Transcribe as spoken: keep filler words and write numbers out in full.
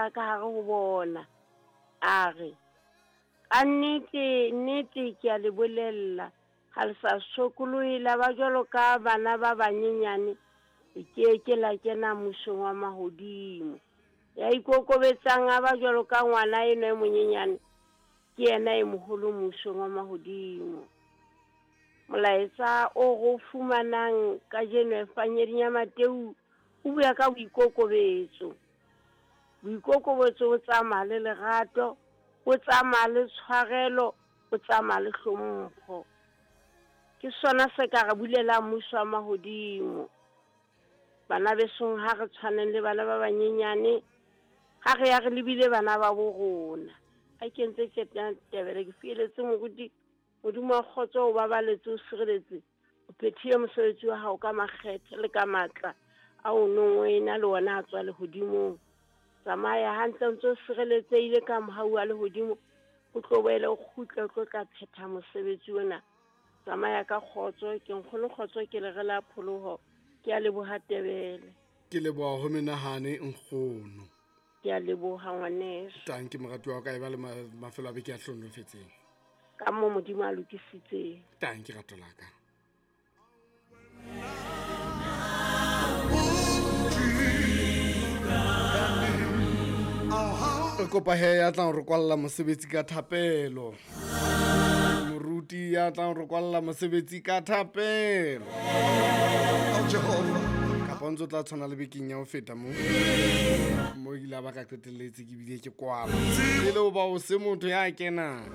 Ka hare ho bona, a re, ka nnete, nnete ke a le bolella, ha le sa sokolohe la ba jwalo ka bana ba banyenyane, le ke ke la kena mmusong wa mahodimo. Ya ikokobetsang a ba jwalo ka ngwana enwa e monyenyane, ke yena e moholo mmusong wa mahodimo. Molaetsa o re o fumanang kajeno Evangeding ya Mateu o bua ka boikokobetso. Boikokobetso bo tsamaya le lerato, bo tsamaya le tshwarelo, bo tsamaya le hlompho. Ke sona se ka re bulelang mmuso wa mahodimo. Bana besong, ha re tshwaneng le bana ba banyenyane, ha re ya re lebile bana ba bo rona. Ha ke ntse ke tebele ke fieletse moruti, Modimo wa kgotso o babaletse, o sireletse, o phethile mosebetsi wa hao ka makgethe le ka matla a o nong o ena le ona a tswa lehodimong. Tsamaya hantle o ntse o sireletsehile ka mohau wa lehodimo, o tlo boele o kgutle o tlo tla phetha mosebetsi ona. Tsamaya ka kgotso, ke nkgono kgotso, ke le re la pholoho. Ke a leboha Tebele. Ke leboha ho menahane nkgono. Ke a leboha ngwaneso. Tanki moratuwa wa ka, e ba le mafelo a beke a hlonofetseng. Ka mo Modimo a lokisitseng. Tanki rato la ka. Re kopa he ya tlang re kwalla mosebetsi ka thapelo. Moruti ya tlang re kwalla mosebetsi ka thapelo. Kapa ntse o tla tshwana le bekeng ya ho feta mo. Mo ile ba ka qetelletse ke bile ke kwala. E le hoba o se motho ya kenang.